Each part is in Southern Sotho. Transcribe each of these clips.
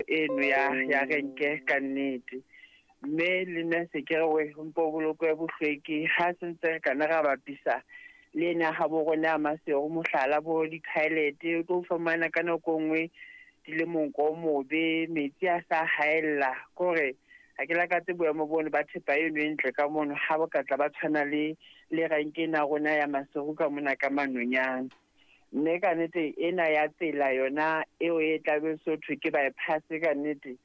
eno ya renke ka nnete. Mme le nna se ke re we mpo bolokwe bohlweki ha se ntse re kana ra bapisa le ena ha bo rona Maseru mohlala bo di-toilet o tlo fumana ka nako e nngwe di le monko o mobe, metsi a sa haella. Kore ha ke lakatse boemo bono ba thepa eno e ntle ka mono ha bo ka tla ba tshwana le renke ena rona ya Maseru ka mona ka Manonyane. Mme ka nnete ena ya tsela yona eo e tlabe so thwe ke bypass ka nnete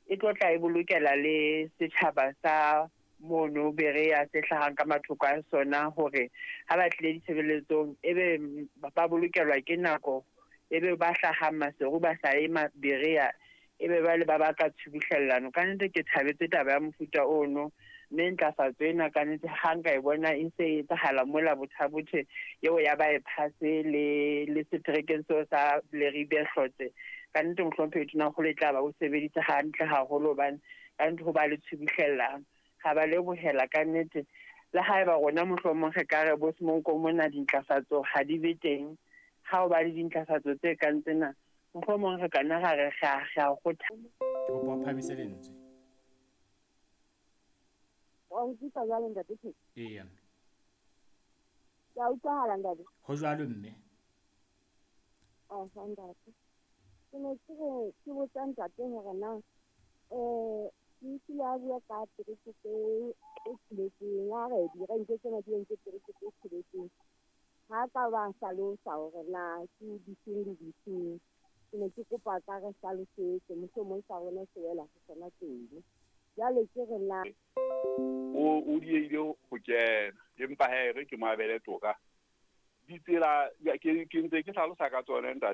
e tlo tla e bolokela le setjhaba sa mono Berea se hlahang ka mathoko a sona hore ha ba tlile ditshebeletsong ebe ba bolokelwa ke nako, ebe ba hlahang Maseru ba sa ye Berea ebe ba le ba baka tshubuhlellano. Ka nnete ke thabetse taba ya mofuta ono, mme ntlafatso ena ka nnete ha nka e bona e se e etsahala mola Botha-Bothe eo ya bypass le seterekeng seo sa Leribe Hlotse. Ka nnete mohlomphehi Tonakgolo e tla ba o sebeditse hantle haholo hobane ka nnete ho ba le tshubuhlellano. Ga ba lebohela ka nnete. Le haeba rona mohlomong re ka re bo Semonko mona dintlafatso ha di be teng, ha o ba le dintlafatso tse kang tsena mohlomong re ka nna ra re ra kgotha. Ke kopa o phahamise lentswe. Wa utlwisa jwale ntate Theko? Eya. Ke a utlwahala ntate? Ho jwalo mme. Aha ntate. Ke ne ke re ke botsa ntate hore na ke utlwile a bua ka terekete e tsheletseng, a re direnke tsena di entse terekete e tsheletseng. Ha ka ba hlalosa hore na ke difeng le difeng. Ke ne ke kopa ka re hlalosetse, mohlomong sa rona se wela ho sona teng. Jwale ke re na O diehile ho kena, empa ha e re ke mo abele toka. Ditsela ke ntse ke hlalosa ka tsona ntate.